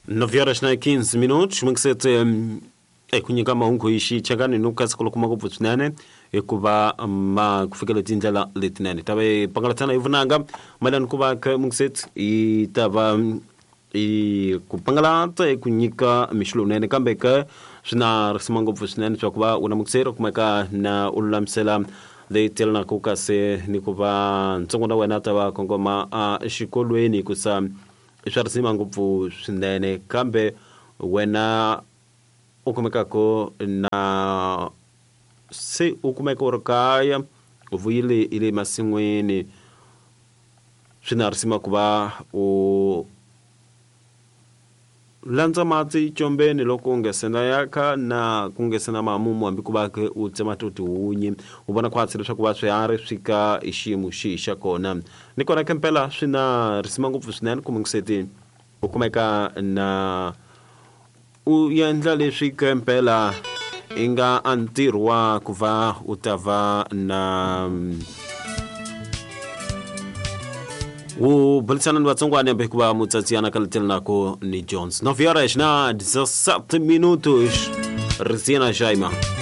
9 horas na 15 minutos mungisetse eku nyika mahungu hi xichangani no kasi ku kuma ngopfu swinene hikuva ma ku fikela tindlela letinene ta va hi pangalatsana hi vunanga mayelana ku va ka mungisetse yi ta va i ku pangalata eku nyika mixo lowunene kambe ka swi na risima ngopfu swinene swa ku va u na mukiseri u kumeka na u lulamisela leyi telanaka kasi ni ku va ntsongo na wena ta va kongoma exikolweni hikusa i swa risima ngopfu swinene kambe wena u kumekaka na se u kumeka u ri kaya u vuyile i le masin'wini swi na risima ku va u landza mati combeni loko u nga se na yakha na ku nga se na mamumu hambi ku va ke u tsema to tihunyi u vona khwatsi leswaku va swiharhi swi ka hi xiyimo xihi xa kona ni kona ke mpela swi na risima ngopfu swinene ku mungiseti u kumeka na u endla leswi ke mpela i nga a ntirho wa ku va u ta va na wu burisana ni vatsongwana hikuva mutsatsiyana ka letelnako ni Jones 9 horas na 17 minutos Risiena Jaima.